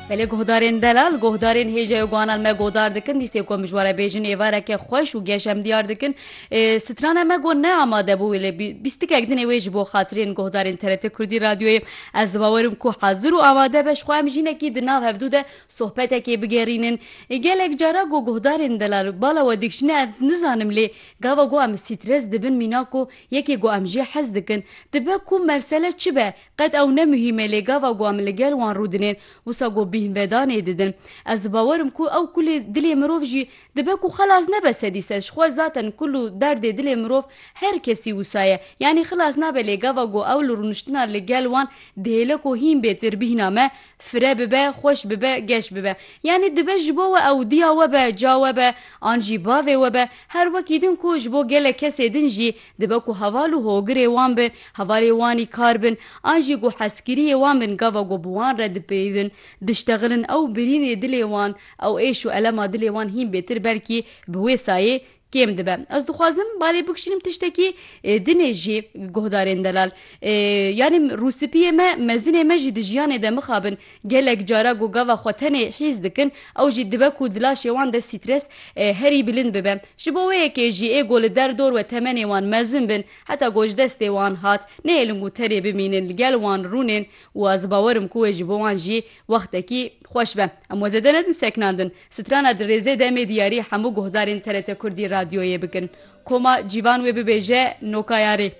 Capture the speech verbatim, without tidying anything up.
Belê guhdarên delal, guhdarên hêja û guhanan me guhdar dikin, dîsê ku em ji we re bêjin êvareke xweş û geş em diyar dikin. Ê, strana me got ne amade bû, wê lê bî-, bîstikek din ê wê ji bo xatirên guhdarên T R T Kurdî Radyoyê. Ez bawerim ku hazir û amade be, ji xwe em jî hinekî di nav hevdû de sohbetekê bigerînin. Ê, gelek cara ku guhdarên delal bala we dikişîne, ez nizanim, lê gava ku em stres dibin mîna ku yekê ku em jê hez dikin. Dibe ku mesele çi be, qet ew ne muhîm e, lê gava ku em li gel wan rûdinên, wisa ku bîhnvedanê didin. Ez bawerim ku ew kulê dilê mirov jî dibe ku xelas nebe sedî sed. Ji xwe zaten kul û derdê dilê mirov her kesî wisa ye. Yanî xilas nabe, lê gava ku ew li rûniştina li gel wan dihêle ku hîn bêtir bîhna me fire bibe, xweş bibe, geş bibe. Yanî dibe ji bo we ew diya we be, ca we be, an jî bavê we be, her wekî din ku ji bo gelek kesê din jî dibe ku heval û hogirê wan bin, hevalê wanî kar bin, an jî ku hezkiriyê wan bin, gava ku bi wan re dipeyivin, diştexilin, ew birînê dilê wan, ew êş û elema dilê wan hîn bêtir belkî bi wê sayê kêm dibe. Ez dixwazim balê bikişînim tiştekî, e, dinê jî guhdarên delal. E, yanî rûspiyê me, mezinê me jî di jiyanê de mixabin gelek cara ku gava xwe tenê hîs dikin, ew jî dibe ku di laşê wan de stres, e, herî bilind bibe. Ji bo wê yekê jî ê ku li der dor we temenê wan mezin bin, heta ku ji destê wan hat, nehêlin ku tenê bimînin, li gel wan rûnên û ez bawerim ku wê ji bo wan jî wextekî xweş be. Em we zêde nedin seknandin. Strana di rêzê de em ê diyarî hemû guhdarên T R T Kurdî Radyoyê bikin. Koma cîvan wê bibêje nokayarê.